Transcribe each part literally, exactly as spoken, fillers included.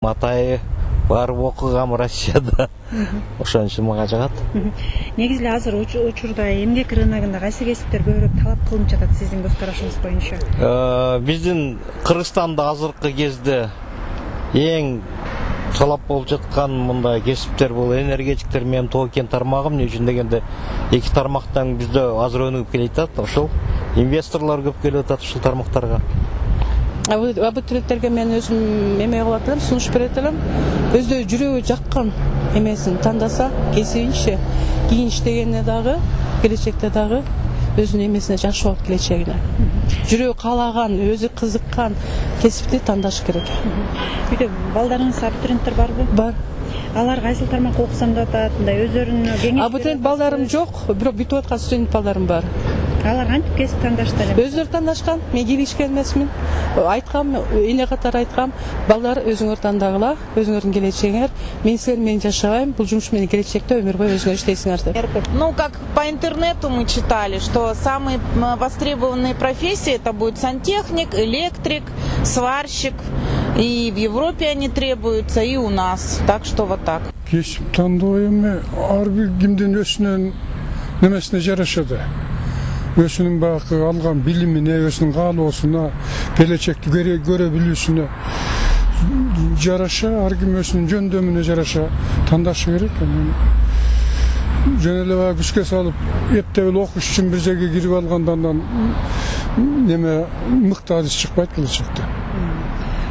Матай барып окугам Россияда. Ошон үчүн мага жагат. Негизи эле азыр учурда эмгек рыногунда кайсы кесиптер көбүрөөк талап кылынып жатат сиздин көз карашыңыз боюнча? Биздин Кыргызстанда азыркы кезде эң талап болуп жаткан мындай кесиптер бул энергетиктер менен тоо кен тармагы. Эмне үчүн дегенде эки тармактан бизде азыр өнүгүп келе жатат. Ошол инвесторлор көп келип атат ушул тармактарга. Абитуриенттерге мен өзүм эме кылып атам, сунуш берет элем. Өздөрү жүрөгү жаккан эмесин тандаса, кесибинчи кийин иштегенде дагы, келечекте дагы өзүнүн эмесине жакшы болот келечегине. Жүрөгү каалаган, өзү кызыккан кесипти тандаш керек. Үйдө балдарыңыз абитуриенттер барбы? Бар. Алар кайсыл тармакка окусам деп атат, мындай өздөрүнүн кеңеш. Абитуриент балдарым жок, бирок бүтүп аткан студент балдарым бар. Алар кантип кесип тандашты эле? Өздөрү тандашкан. Мен келишкен эмесмин. Айткам, эне катары айткам, балдар өзүңөр тандагыла, өзүңөрдүн келечегиңер. Мен силер менен жашабайм, бул жумуш менен келечекте өмүр бою өзүңөр иштейсиңер деп. Ну, как по интернету мы читали, что самые востребованные профессии это будет сантехник, электрик, сварщик. И в Европе они требуются, и у нас. Так что вот так. Кесип тандоо эми ар бир кимдин өзүнүн немесине жарашат. Өзүнүн баягы алган билимине, өзүнүн каалоосуна, келечекти көрө билүүсүнө жараша, ар ким өзүнүн жөндөмүнө жараша тандашы керек. Жөн эле баягы күчкө салып, эптеп окуш үчүн бир жерге кирип алгандан неме мыкты адис чыкпайт келечекте.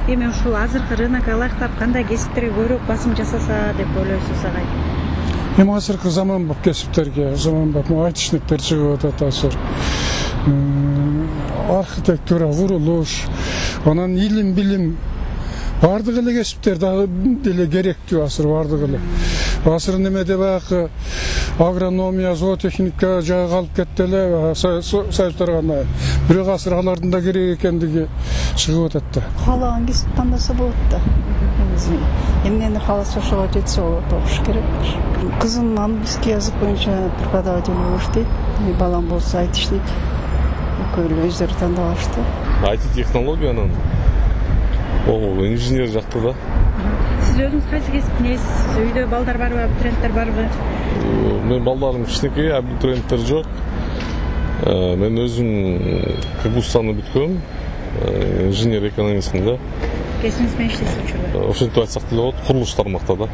Эми ушул азыркы рынокко ылайыктап кандай кесиптерге көбүрөөк басым жасаса деп ойлойсуз агай? Эми азыркы заманбап кесиптерге, заманбап айтышниктер чыгып атат азыр. Архитектура, курулуш, анан илим, билим, бардык эле кесиптер дагы деле керектүү азыр бардык эле. Азыр немеде баягы агрономия, зоотехника жагы калып кетти эле, союздар гана. Бирок азыр алардын да керек экендиги чыгып атат да. Каалаган кесип тандаса болот да. Эмнени кааласа ошого жетсе болот, окуш керек. Кызым английский язык боюнча преподаватель болуп иштейт. Балам болсо айти иштейт. Экөөлөр өздөрү тандап алышты. Айти технологиянын ол инженер жакты да. Сиз өзүңүз кайсы кесиптин ээсисиз? Үйдө балдар барбы, абитуриенттер барбы? Мен балдарым кичинекей, абитуриенттер жок. Мен өзүм Кыргызстанда бүткөм, инженер экономистмин да. Кесибиңиз менен иштейсиз учурда? Ошентип айтсак деле болот, курулуш тармакта да.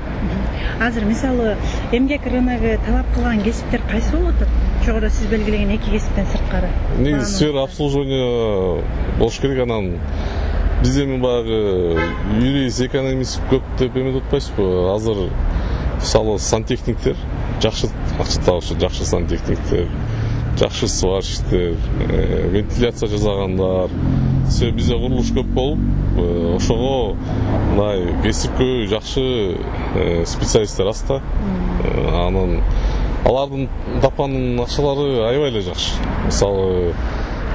Азыр мисалы эмгек рыногу талап кылган кесиптер кайсы болуп атат? Жогоруда сиз белгилеген эки кесиптен сырткары. Негизи сфера обслуживания болуш керек, анан бизде эми баягы юрист, экономист көп деп эметип атпайсызбы? Азыр мисалы сантехниктер жакшы акча табышат, жакшы сантехниктер, жакшы сварщиктер, вентиляция жасагандар. Себеби бизде курулуш көп болуп, ошого мындай кесипкө жакшы специалисттер аз да. Анан алардын тапкан акчалары аябай эле жакшы. Мисалы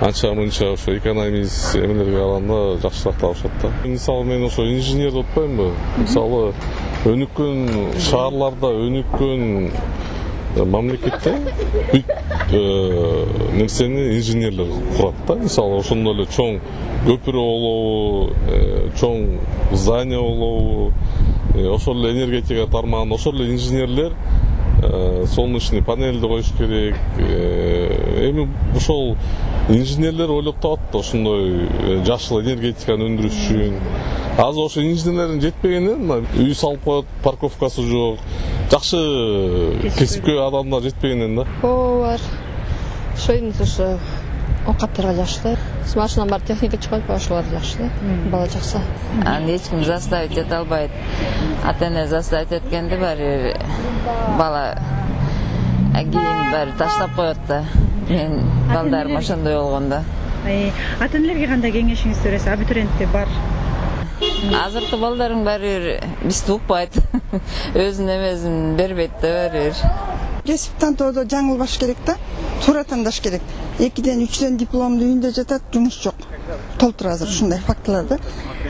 анча-мынча ошо экономист эмелерге караганда жакшыраак табышат да. Мисалы мен ошо инженер деп атпаймынбы? Мисалы өнүккөн шаарларда, өнүккөн мамлекетте бүт нерсени инженерлер курат да. Мисалы ошондой эле чоң көпүрө болобу, чоң здание болобу, ошол эле энергетика тармагында ошол эле инженерлер солнечный панельди коюш керек. Эми ошол инженерлер ойлоп табат да ошондой жашыл энергетиканы өндүрүш үчүн. Азыр ошо инженерлердин жетпегенинен үй салып коет, парковкасы жок. Жакшы кесипкө адамдар жетпегенинен да. Оо бар. Ошо эмес ошо оокаттарга жакшы да. Машина бар, техника чыкпайт, ошолор жакшы да. Бала жакса. Аны эч ким заставить эте албайт. Ата-эне заставить эткенде баары бала кийин баары таштап коет да. Мен балдарым ошондой болгондо. Ата-энелерге кандай кеңешиңизди бересиз? Абитуриенттер бар. Азыркы балдарым баары бизди укпайт. Өзүнүн эмесин бербейт да баары. Кесип тандоодо жаңылбаш керек да. Туура тандаш керек. экиден үчтөн дипломду үйүндө жатат, жумуш жок. Толтур азыр ушундай фактылар да.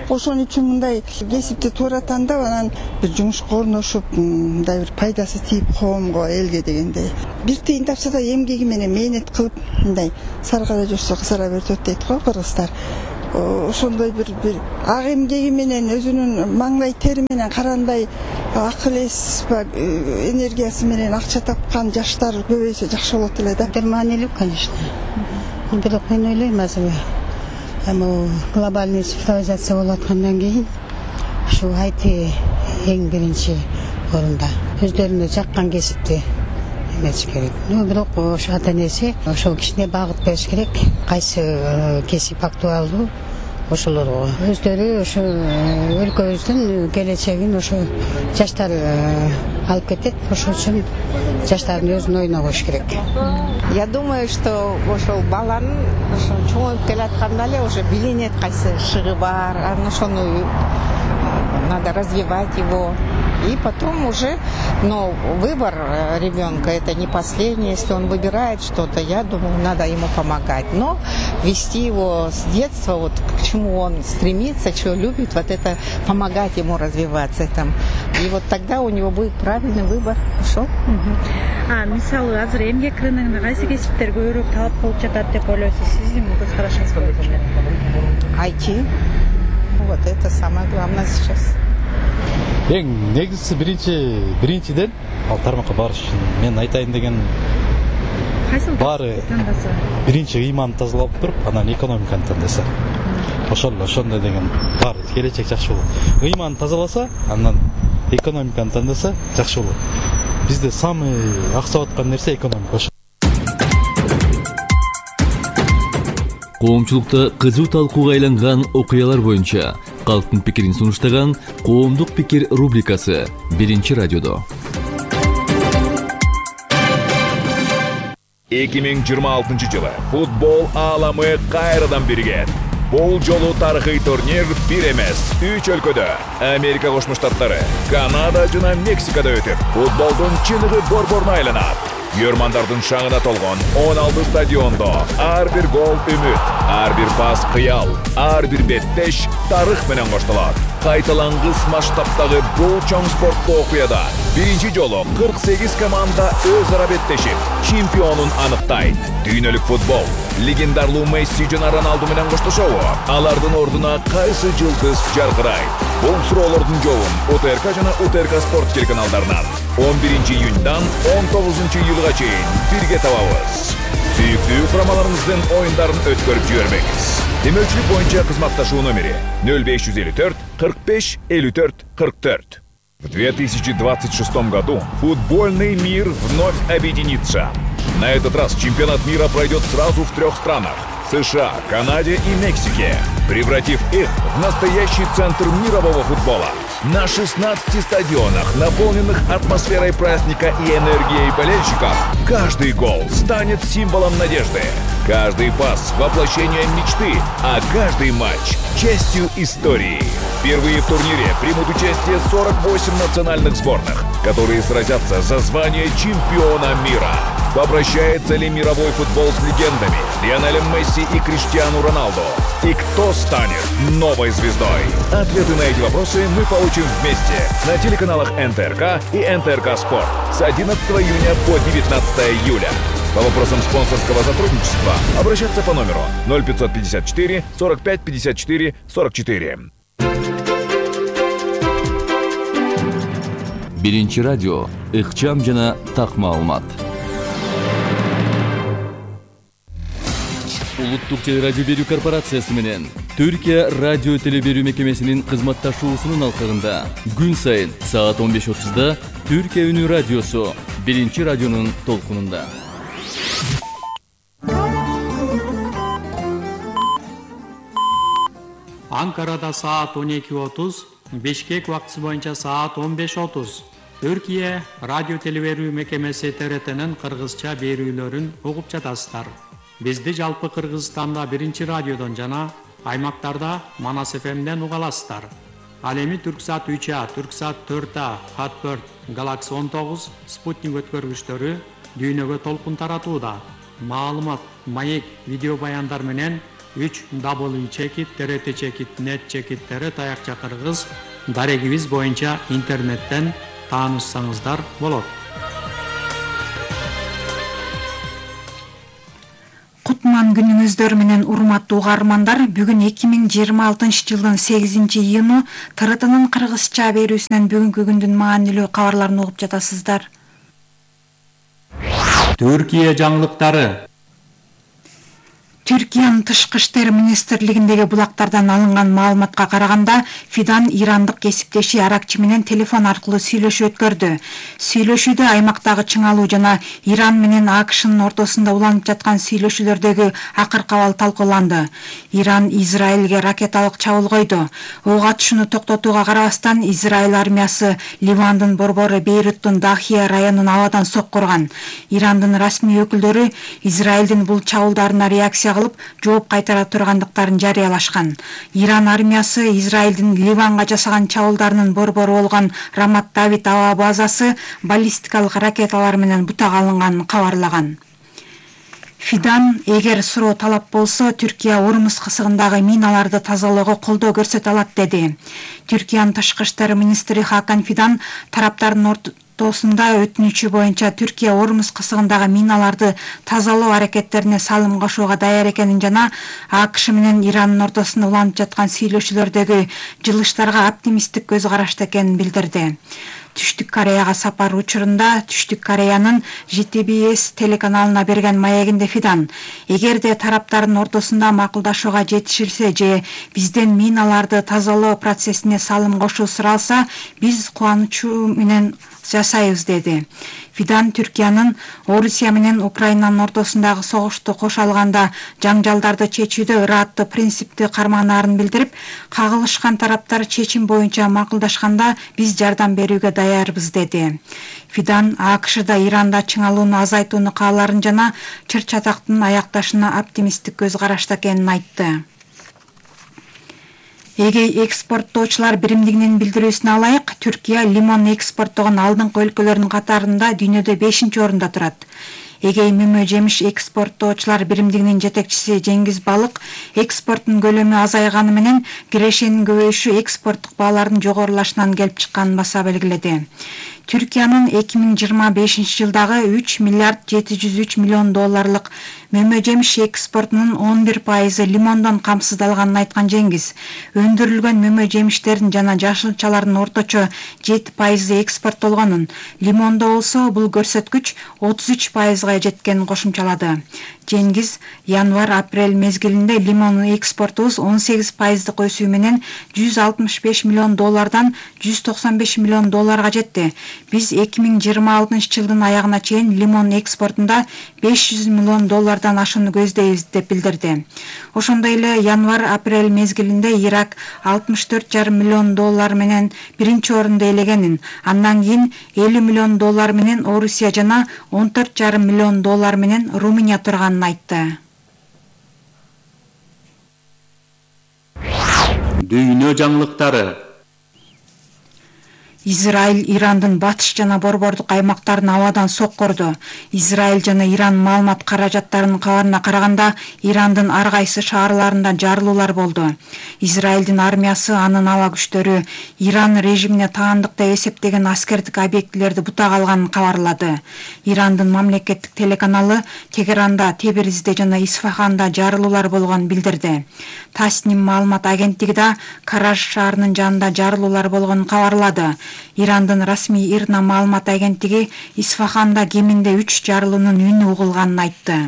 Ошон үчүн мындай кесипти туура тандап, анан бир жумушка орношуп, мындай бир пайдасы тийип коомго, элге дегендей. Бир тыйын тапса да эмгеги менен мээнет кылып, мындай саргара жүрсө кызара берет дейт го кыргыздар. ошондой бир бир ак эмгеги менен өзүнүн маңдай тери менен карандай акыл эс энергиясы менен акча тапкан жаштар көбөйсө жакшы болот эле да. Это маанилүү, конечно. Бирок мен ойлойм азыр эми глобальный цифровизация болуп аткандан кийин ушу ай ти эң биринчи орунда өздөрүнө жаккан кесипти эмес керек. Ну бирок ошо ата энеси ошол кишине багыт бериш керек. Кайсы кесип актуалдуу ошолорго өздөрү ошо өлкөбүздүн келечегин ошо жаштар алып кетет. Ошол үчүн жаштардын өзүнүн оюна коюш керек. Я думаю, что ошол баланын ошо чоңоюп келатканда эле уже билинет кайсы шыгы бар, анан ошону надо развивать его. И потом уже, но выбор ребенка это не последний. Если он выбирает что-то, я думаю, надо ему помогать. Но вести его с детства, вот к чему он стремится, что любит, вот это помогать ему развиваться там. И вот тогда у него будет правильный выбор. Хорошо? А, мисалы, азыр эмгек рыногунда кайсы кесиптер көбүрөөк талап болуп жатат деп ойлойсуз? Сиздин көз карашыңыз боюнча? ай ти. Вот это самое главное сейчас. Эң негизгиси биринчи биринчиден ал тармакка барыш үчүн мен айтайын деген баары биринчи ыйманды тазалап туруп, анан экономиканы тандаса. Ошол ошондой деген бар келечек жакшы болот. Ыйманды тазаласа, анан экономиканы тандаса жакшы болот. Бизде самый аксап аткан нерсе экономика. Коомчулукта кызуу талкууга айланган окуялар боюнча калктын пикирин сунуштаган Коомдук пикир рубрикасы биринчи радиодо. эки миң жыйырма алтынчы жылы футбол ааламы кайрадан биригет. Бул жолу тарыхый турнир бир эмес, үч өлкөдө Америка Кошмо Штаттары, Канада жана Мексикада өтүп, футболдун чыныгы борборуна айланат. Йөрмандардын шаңына толгон он алты стадиондо ар бир гол үмүт, ар бир пас кыял, ар бир беттеш тарых менен коштолот. Кайталангыс масштабтагы бул чоң спорттуу окуяда биринчи жолу кырк сегиз команда өз ара беттешип, чемпионун аныктайт. Дүйнөлүк футбол легендарлуу Месси жана Роналду менен коштошобу? Алардын ордуна кайсы жылдыз жаркырайт? Бул суроолордун жообун УТРК жана УТРК спорт телеканалдарынан он биринчи июньдан он тогузунчу июлга чейин бирге табабыз. Сүйүктүү курамаларыңыздын оюндарын өткөрүп жибербеңиз. Демөчүлүк боюнча кызматташуу номери ноль беш жүз элүү төрт кырк беш элүү төрт кырк төрт. В две тысячи двадцать шестом году футбольный мир вновь объединится. На этот раз чемпионат мира пройдет сразу в трех странах – США, Канаде и Мексике, превратив их в настоящий центр мирового футбола. На шестнадцати стадионах, наполненных атмосферой праздника и энергией болельщиков, каждый гол станет символом надежды. Каждый пас – воплощение мечты, а каждый матч – частью истории. Впервые в турнире примут участие сорок восемь национальных сборных, которые сразятся за звание чемпиона мира. Попрощается ли мировой футбол с легендами Лионелем Месси и Криштиану Роналду? И кто станет новой звездой? Ответы на эти вопросы мы получим вместе на телеканалах эн тэ эр ка и эн тэ эр ка Спорт с одиннадцатого июня по девятнадцатое июля. По вопросам спонсорского сотрудничества обращаться по номеру ноль пятьсот пятьдесят четыре сорок пять пятьдесят четыре сорок четыре. Биринчи радио, ыкчам жана так маалымат. Улуттук телерадио берүү корпорациясы менен Түркия радио теле берүү мекемесинин кызматташуусунун алкагында күн сайын саат он беш отузда Түркия үнү радиосу биринчи радионун толкунунда. Анкарада саат он эки отуз, Бишкек убактысы боюнча саат он беш отуз. Түркия радио теле берүү мекемеси тэ эр тнин кыргызча берүүлөрүн угуп жатасыздар. Бизди жалпы Кыргызстанда биринчи радиодон жана аймактарда Манас эф эмден уга аласыздар. Ал эми Түрксат үч а, Түрксат төрт а, Хатберт, Галакси он тогуз, Спутник өткөргүчтөрү дүйнөгө толкун таратууда. Маалымат, маек, видео баяндар менен үч дабл ю чекит тэ эр тэ чекит нет чекит тэ эр таякча кыргыз дарегибиз боюнча интернеттен таанышсаңыздар болот. Кутман Кутман күнүңүздөр менен урматтуу угармандар. Бүгүн эки миң жыйырма алтынчы жылдын сегизинчи июну Т R T'нын кыргызча берүүсүнөн бүгүнкү күндүн маанилүү кабарларын угуп жатасыздар. Түркия жаңылыктары. Түркиянын тышкы иштер министрлигиндеги булактардан алынган маалыматка караганда, Фидан ирандык кесиптеши Аракчы менен телефон аркылуу сүйлөшүү өткөрдү. Сүйлөшүүдө аймактагы чыңалуу жана Иран менен АКШнын ортосунда уланып жаткан сүйлөшүүлөрдөгү акыркы абал талкууланды. Иран Израилге ракеталык чабуул койду. Ок атышууну токтотууга карабастан, Израиль армиясы Ливандын борбору Бейруттун Дахия районун абадан соккурган. Ирандын расмий өкүлдөрү Израилдин бул чабуулдарына реакция кылып, жооп кайтара тургандыктарын жарыялашкан. Иран армиясы Израилдин Ливанга жасаган чабуулдарынын борбору болгон Рамат Давид аба базасы баллистикалык ракеталар менен бутак алынганын кабарлаган. Фидан, эгер суроо талап болсо, Түркия Урмус кысыгындагы миналарды тазалоого колдоо көрсөтө алат деди. Түркиянын тышкы иштер министри Хакан Фидан тараптардын ортосунда өтүнүчү боюнча Түркия Урмус кысыгындагы миналарды тазалоо аракеттерине салым кошууга даяр экенин жана АКШ менен Ирандын ортосунда уланып жаткан сүйлөшүүлөрдөгү жылыштарга оптимисттик көз карашта экенин билдирди. Түштүк Кореяга сапар учурунда Түштүк Кореянын Ж T B S телеканалына берген маегинде Фидан, эгерде тараптардын ортосунда макулдашууга жетишилсе же бизден миналарды тазалоо процессине салым кошуу суралса, биз кубанычуу менен жасайбыз деди. Фидан Түркиянын Орусия менен Украинанын ортосундагы согушту кошо алганда жаңжалдарды чечүүдө ырааттуу принципти карманаарын билдирип, кагылышкан тараптар чечим боюнча макулдашканда биз жардам берүүгө даярбыз деди. Фидан АКШда Иранда чыңалууну азайтууну кааларын жана чыр-чатактын аякташына оптимисттик көз карашта экенин айтты. Эгей экспорттоочулар биримдигинин билдирүүсүнө алайык, Түркия лимон экспорттогон алдыңкы өлкөлөрдүн катарында дүйнөдө бешинчи орунда турат. Эгей мөмө жемиш экспорттоочулар биримдигинин жетекчиси Жеңгиз Балык экспорттун көлөмү азайганы менен кирешенин көбөйүшү экспорттук баалардын жогорулашынан келип чыкканын баса белгиледи. Түркиянын эки миң жыйырма бешинчи жылдагы үч миллиард жети жүз үч миллион долларлык мөмө жемиш экспортунун он бир пайызы лимондон камсыздалганын айткан Жеңгиз, өндүрүлгөн мөмө жемиштердин жана жашылчалардын орточо жети пайызы экспорттолгонун, лимондо болсо бул көрсөткүч отуз үч пайызга жеткенин кошумчалады. Жеңгиз январь-апрель мезгилинде лимон экспортубуз он сегиз пайыздык өсүү менен жүз алтымыш беш миллион доллардан жүз токсон беш миллион долларга жетти. Биз эки миң жыйырма алтынчы жылдын аягына чейин лимон экспортунда беш жүз миллион доллардан ашууну көздөйбүз деп билдирди. Ошондой эле январь-апрель мезгилинде Ирак алтымыш төрт жарым миллион доллар менен биринчи орунду ээлегенин, андан кийин элүү миллион доллар менен Орусия жана он төрт жарым миллион доллар менен Румыния турганын айтты. Дүйнө жаңылыктары. Израиль Ирандын батыш жана борбордук аймактарын абадан соккурду. Израиль жана Иран маалымат каражаттарынын кабарына караганда, Ирандын ар кайсы шаарларында жарылуулар болду. Израилдин армиясы, анын аба күчтөрү Иран режимине таандык деп эсептеген аскердик объектилерди бутак алганын кабарлады. Ирандын мамлекеттик телеканалы Тегеранда, Тебризде жана Исфаханда жарылуулар болгонун билдирди. Тасним маалымат агенттиги да Караж шаарынын жанында жарылуулар болгонун кабарлады. Ирандын расмий Ирна маалымат агенттиги Исфаханда кеминде үч жарылуунун үнү угулганын айтты.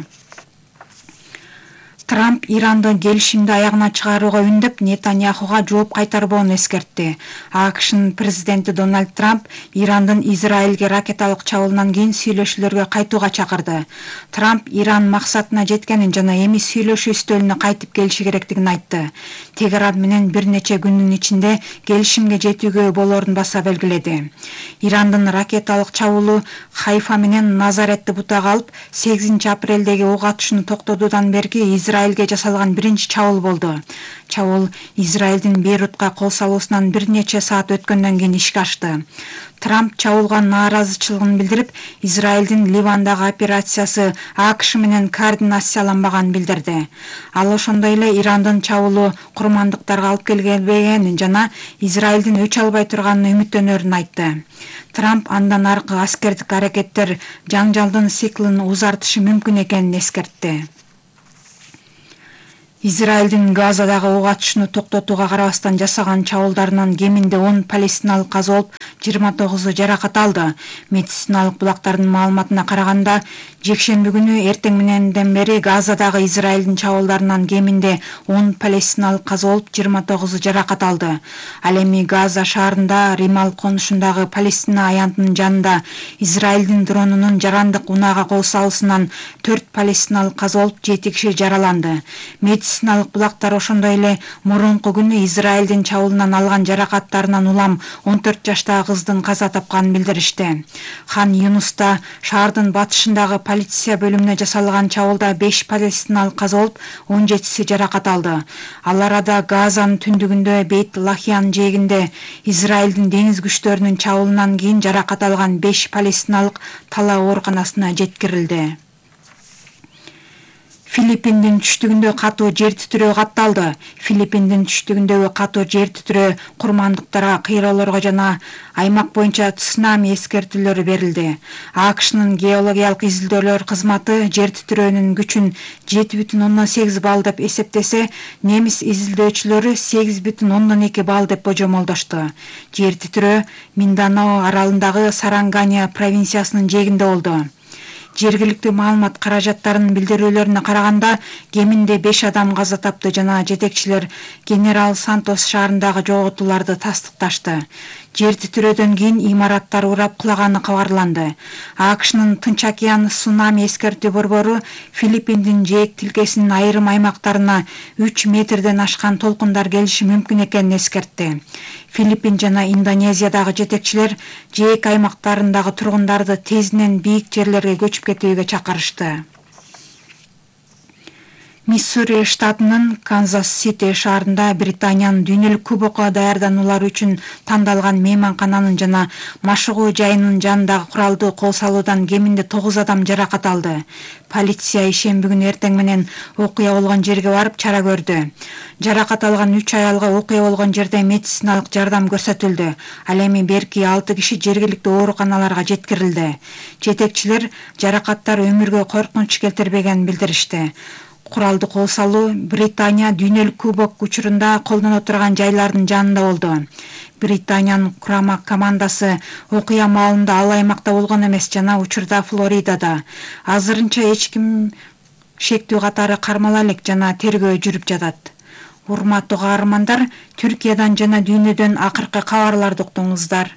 Трамп Ирандын келишимди аягына чыгарууга үндөп, Нетаньяхуга жооп кайтарбоону эскертти. АКШнын президенти Дональд Трамп Ирандын Израилге ракеталык чабуулунан кийин сүйлөшүүлөргө кайтууга чакырды. Трамп Иран максатына жеткенин жана эми сүйлөшүү үстөлүнө кайтып келиши керектигин айтты. Тегеран менен бир нече күндүн ичинде келишимге жетүүгө болорун баса белгиледи. Ирандын ракеталык чабуулу Хайфа менен Назаретти бутак алып, сегизинчи апрелдеги ок атышууну токтотуудан берки Израиль Израилге жасалган биринчи чабуул болду. Чабуул Израилдин Бейрутка кол салуусунан бир нече саат өткөндөн кийин ишке ашты. Трамп чабуулга нааразычылыгын билдирип, Израилдин Ливандагы операциясы АКШ менен координацияланбаганын билдирди. Ал ошондой эле Ирандын чабуулу курмандыктарга алып келбегенин жана Израилдин өч албай турганын үмүттөнөрүн айтты. Трамп андан аркы аскердик аракеттер жаңжалдын циклын узартышы мүмкүн экенин эскертти. Израилдин Газадагы ок атышууну токтотууга карабастан жасаган чабуулдарынан кеминде он палестиналык каза болуп, жыйырма тогузу жаракат алды. Медициналык булактардын маалыматына караганда, жекшемби күнү эртең мененден бери Газадагы Израилдин чабуулдарынан кеминде он палестиналык каза болуп, жыйырма тогузу жаракат алды. Ал эми Газа шаарында Римал конушундагы Палестина аянтынын жанында Израилдин дронунун жарандык унаага кол салуусунан төрт палестиналык каза болуп, жети киши жараланды. Медициналык булактар ошондой эле мурунку күнү Израилдин чабуулунан алган жаракаттарынан улам он төрт жаштагы кыздын каза тапканын билдиришти. Хан Юнуста шаардын батышындагы полиция бөлүмүнө жасалган чабуулда беш палестиналык каза болуп, он жетиси жаракат алды. Ал арада Газанын түндүгүндө Бейт Лахиян жээгинде Израилдин деңиз күчтөрүнүн чабуулунан кийин жаракат алган беш палестиналык талаа ооруканасына жеткирилди. Филиппиндин түштүгүндө катуу жер титирөө катталды. Филиппиндин түштүгүндөгү катуу жер титирөө курмандыктарга, кыйроолорго жана аймак боюнча цунами эскертүүлөрү берилди. АКШнын геологиялык изилдөөлөр кызматы жер титирөөнүн күчүн жети бүтүн ондон сегиз балл деп эсептесе, немис изилдөөчүлөрү сегиз бүтүн ондон эки балл деп божомолдошту. Жер титирөө Минданао аралындагы Сарангания провинциясынын жээгинде болду. Жергиликтүү маалымат каражаттарынын билдирүүлөрүнө караганда, кеминде беш адам каза тапты жана жетекчилер Генерал Сантос шаарындагы жоготууларды тастыкташты. Жер титирөөдөн кийин имараттар урап кулаганы кабарланды. АКШнын Тынч океан цунами эскертүү борбору Филиппиндин жээк тилкесинин айрым аймактарына үч метрден ашкан толкундар келиши мүмкүн экенин эскертти. Филиппин жана Индонезиядагы жетекчилер жээк аймактарындагы тургундарды тезинен бийик жерлерге көчүп кетүүгө чакырышты. Миссури штатынын Канзас-Сити шаарында Британиянын дүйнөлүк кубокко даярдануулар үчүн тандалган мейманкананын жана машыгуу жайынын жанындагы куралдуу кол салуудан кеминде тогуз адам жаракат алды. Полиция ишемби күнү эртең менен окуя болгон жерге барып чара көрдү. Жаракат алган үч аялга окуя болгон жерде медициналык жардам көрсөтүлдү. Ал эми берки алты киши жергиликтүү ооруканаларга жеткирилди. Жетекчилер жаракаттар өмүргө коркунуч келтирбегенин билдиришти. Куралды кол салуу Британия дүйнөлүк кубок учурунда колдоно турган жайлардын жанында болду. Британиянын курама командасы окуя маалында ал аймакта болгон эмес жана учурда Флоридада. Азырынча эч ким шектүү катары кармала элек жана тергөө жүрүп жатат. Урматтуу каармандар, Түркиядан жана дүйнөдөн акыркы кабарларды уктуңуздар.